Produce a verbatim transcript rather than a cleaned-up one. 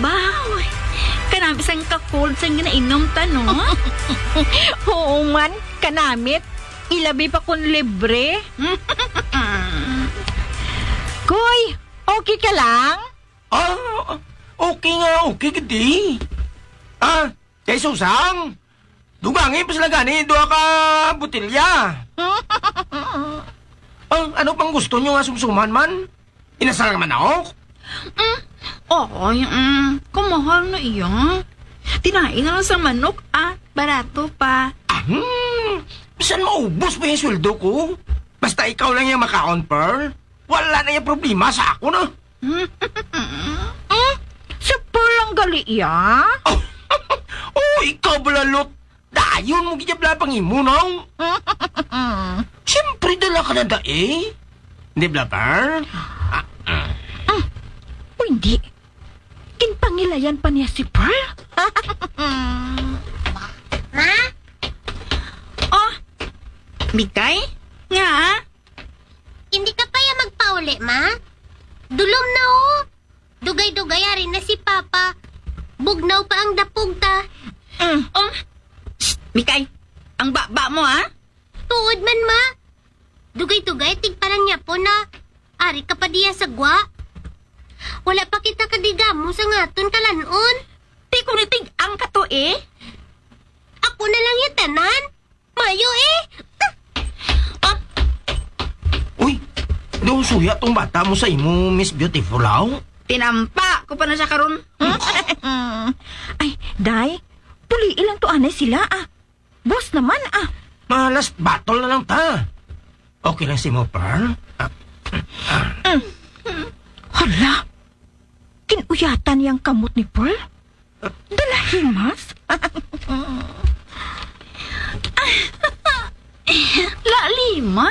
Baw, kanami sang ka-cold sang ginainom ta, no? Oo man, kanamit. Ilabi pa kun libre. Koy, okay ka lang? Ah, okay nga, okay gid. Ah, kay Susang, dugangi pa sila gani duha ka botelya. Ah, ano pang gusto nyo nga sumsuman man? Inasal nga manok? Mm. Oy, mm, kamahal na iya. Tinae na lang sa manok, ah. Barato pa. Ah, hmm. Bisan maubos pa yung sweldo ko. Basta ikaw lang yung makaon, Pearl. Wala na yung problema sa ako na. Mm, si Pearl ang gali iya? Oh, oh, ikaw, balalot. Dayon mo giyabla pang imo, no? Siyempre, dala ka na da eh. Di ba, Pearl? Ah, ah. Mm. O hindi. Ginpangilayan pa niya si Pearl? Ma? Oh, Mikay? Nga? Hindi ka pa ya magpauli, Ma? Dulom na, oh. Dugay-dugay, ari na si Papa. Bugnaw pa ang dapog ta. Mm. Oh, shh, Mikay, ang baba mo, ha? Tuod man, Ma. Dugay-dugay, tigparang niya po na. Ari ka pa diya sa gwa. Wala pa kita kadigamo sa ngaton kalanon. Ti ko nitig ang kato, eh. Ako na lang yung tanan. Mayo, eh. Ah. Uy, daw suya tong bata mo sa imo, Miss Beautiful, aw? Tinampa ko pa na siya karon. Ay, day, puli lang to anay sila, ah. Boss naman, ah. Mga last battle na lang ta. Okay lang si mo, Pearl? Ah, ah. Mm. Hala, kinuyatan niyang kamot ni Pearl? Dalahimas? Lalima?